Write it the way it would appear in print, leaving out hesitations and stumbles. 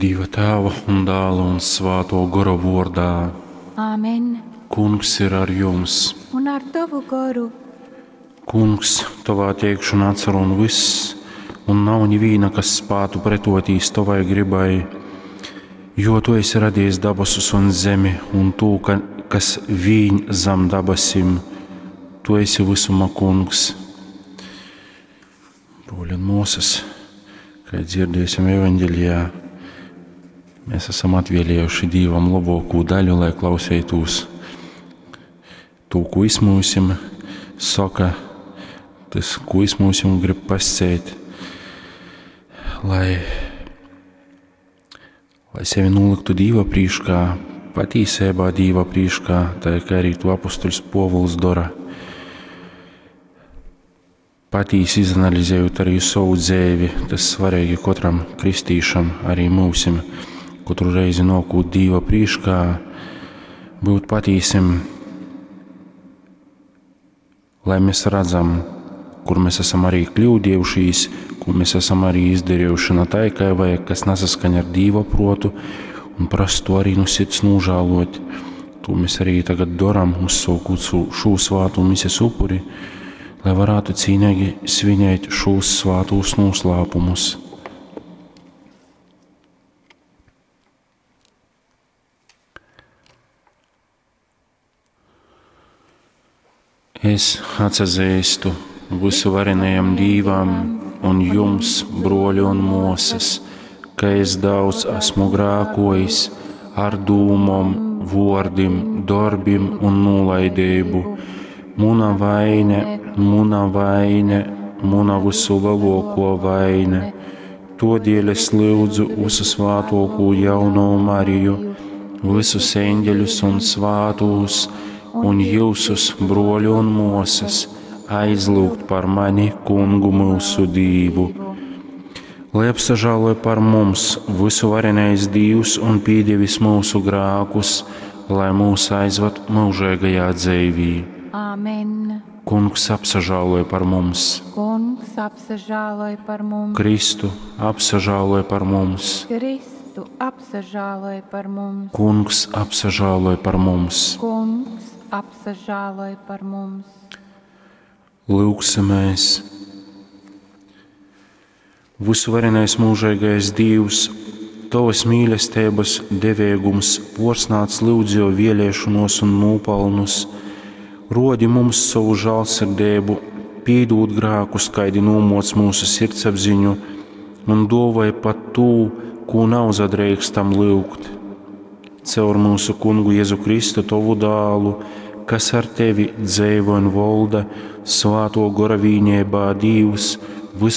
Dieva Tēva un Dēla un Svāto Gora vordā. Āmen. Kungs ir ar jums. Un ar tavu goru. Kungs, tavā teikšanā atsarūn viss, un nav nivīna, kas spātu pretotīs tavai gribai, jo tu esi radījis dabasus un zemi un tū, ka, kas vīņ zam dabasim. Tu esi visuma kungs. Broļi un mūsas, kā dzirdēsim evaņģelijā, mēs esam atvēlējuši Dīvam labāko daļu, lai klausītos to, ko izmūsim, saka, tas, ko izmūsim, grib pasēt, lai, lai sevi noliktu Dīva prīškā, patīsībā Dīva prīškā, tā kā arī to apustuļs Povuls dara. Patīsi izanalizējot arī savu dzēvi, tas svarīgi katram kristīšam, arī mūsim, katru reizi nokūt Dīva prīškā, būt patīsim, lai mēs redzam, kur mēs esam arī kļūdījušies, ko mēs esam arī izdarījuši ne tā, kā vajag, kas nesaskaņa ar Dīva protu, un prasa to arī no sirds nožēlot. To mēs arī tagad darām, uzsākot šo svātu mises upuri, lai varētu cīnīgi svinēt šos svātos noslēpumus. Es atsazīstu visuvarenajam Dīvam un jums, broļi un mosas, ka es daudz esmu grākojis ar dūmom, vordim, darbim un nolaidību. Muna vaine, muna vaine, muna visu lielāko vaine. Todēļ es lūdzu visu svātoko jauno Mariju, visus eņģeļus un svātus, un jūsus, broļi un mosas, aizlūgt par mani, kungu mūsu Dīvu. Lai apsažāloja par mums visu varenais Dīvs un pīdievis mūsu grākus, lai mūs aizvad mūžīgajā dzīvī. Āmen. Kungs apsažāloja par mums, Kungs apsažāloj par mums. Kristu apsažāloja par mums, Kristu apsažāloj par mums. Kungs apsažāloja par mums. Kungs apsažāloj par mums. Lūksimies! Visuvarenais mūžīgais Dievs, Tavas mīlestības devēgums porsnāc lūdzējo vēlēšanos un nopelnus, rodi mums savu žēlsirdību, pīdūt grākus, kaidi nomoc mūsu sirdsapziņu, un dovai pat tū, ko nav zadreikstam lūgt. Caur mūsu kungu Jēzu Kristu, Tavu dālu, kas ar tevi dzēvo un volda, svāto gora vīņībā Dievs, visu